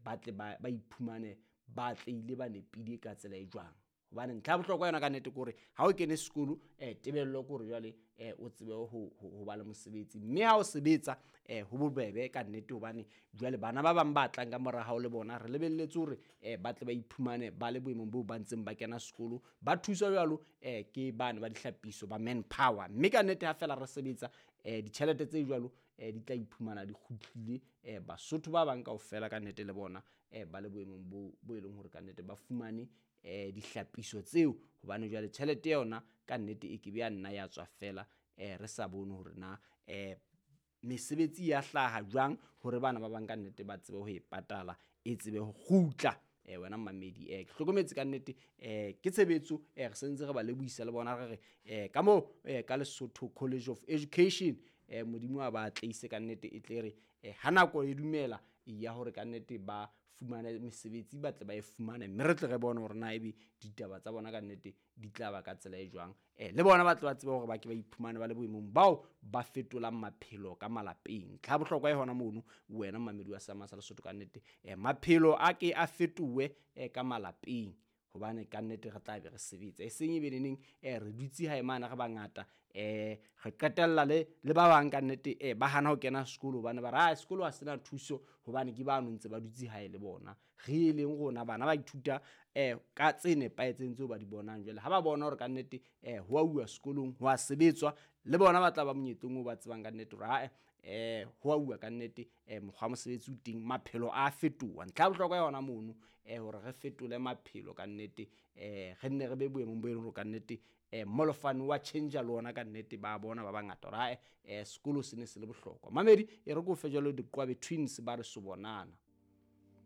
ba tle ba iphumane ba atlehile, ba nepile ka tsela e jwang. Hobane ntlha ya bohlokwa yona kannete ke hore ha o kene sekolo, tebello ke hore jwale o tsebe ho ba le mosebetsi, mme ha o sebetsa ho bobebe kannete hobane jwale bana ba bang ba tlang ka mora hao le bona re lebelletse hore ba tle ba iphumane ba le boemong boo ba ntseng ba kena sekolo, ba thuswa jwalo ke bane ba dihlapiso ba manpower. Mme kannete ha feela re sebetsa ditjhelete tse jwalo di tla iphumana di kgutlile, Basotho ba bang kaofela kannete le bona ba le boemong bo e leng hore kannete ba fumane dihlapiso tseo, hobane jwale tjhelete yona kannete e ke be ya nna ya tswa feela re sa bone hore na mesebetsi ya hlaha jwang hore bana ba bang kannete ba tsebe ho e patala, e tsebe ho kgutla. Wena mmamedi, ke hlokometse kannete ke tshebetso, re sentse re ba lebohisa le bona, re re ka moo ka Lesotho College of Education, Modimo a ba atleise kannete, e tle re ha nako e dumela ya hore kannete ba fumane mesebetsi, ba tle ba e fumane, mme re tle re bone hore na ebe ditaba tsa bona kannete di tla ba ka tsela e jwang, le bona ba tle ba tsebe hore ba ke ba iphumane ba le boemong bao ba fetolang maphelo ka malapeng. Ntlha ya bohlokwa e hona mono, wena mmamedi wa Seama sa Lesotho, kannete maphelo a ke a fetohe ka malapeng, hobane kannete re tla be re sebetsa, e seng e be neneng re dutse hae mane re bangata, re qetella le ba bang kannete ba hana ho kena sekolo hobane ba re sekolo ha sena thuso hobane ke bano ntse ba dutse hae le bona. Re eleng rona bana ba ithuta ka tse nepahetseng tseo ba di bonang. Jwale ha ba bona hore kannete ho a uwa sekolong, ho a sebetswa, le bona ba tla ba monyetleng oo ba tsebang kannete hore ae ho a uwa kannete, mokgwa wa mosebetsi o teng, maphelo a fetoha. Ntlha ya bohlokwa yona mono hore re fetole maphelo kannete, re nne re be boemong bo e leng hore kannete molofane wa tjhentjha le ona kannete, ba bona ba bangata hore ae sekolo se ne se le bohlokwa. Mamedi e re ke o fe jwalo Diqwabe Twins ba re so bonana.